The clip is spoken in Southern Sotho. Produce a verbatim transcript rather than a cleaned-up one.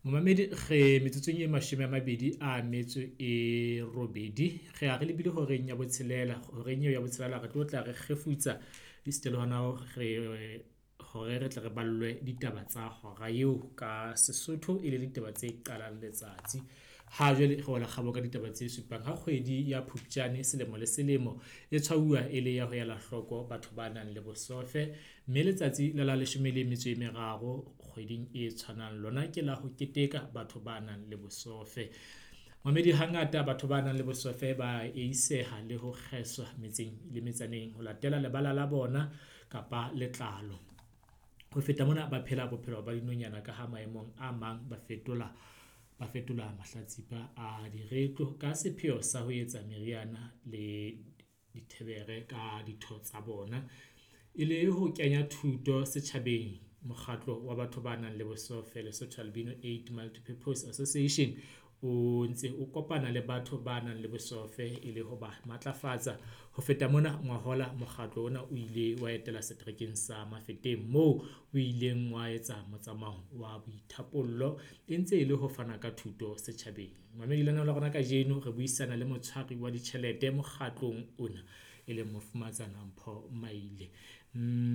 Momamedi, re metsotsong e mashome a mabedi a metso e robedi. Re ya re lebile horeng ya botshelela. Horeng eo ya botshelela re tlo tla re kgefutsa esita le hona re hore re tle re ballwe ditaba tsa hora eo ka Sesotho e le ditaba tse qalang letsatsi. Ha jwale re wela kgabo ka ditaba tse supang. Ha kgwedi ya Phupjane selemo le selemo e tshwauwa e le ya ho ela hloko batho ba nang le bosofe. Mme letsatsi la la leshome le metso e meraro kgweding e tshwanang lona ke la ho keteka batho ba nang le bosofe. Mamedi hangata batho ba nang le bosofe ba eiseha le ho kgeswa metseng le metsaneng ho latela lebala la bona kapa letlalo. Ho feta mona, ba phela bophelo ba dinonyana ka ha maemong a mang ba fetola ba fetola mahlatsipa a diretlo ka sepheo sa ho etsa meriana le dithebere ka ditho tsa bona. E le ho kenya thuto setjhabeng, mokgatlo wa batho ba nang le bosofe Lesotho Albino Eight Multipurpose Association o ntse o kopana le batho ba nang le bosofe e le ho ba matlafatsa. Ho feta mona, ngwahola mokgatlo ona o ile wa etela seterekeng sa Mafeteng moo o ileng wa etsa motsamao wa boithapollo e ntse e le ho fana ka thuto setjhabeng. Mamedi lenaneo la rona kajeno re buisana le motshwari wa ditjhelete mokgatlong ona, e leng Mofumahatsana Mpho Maile.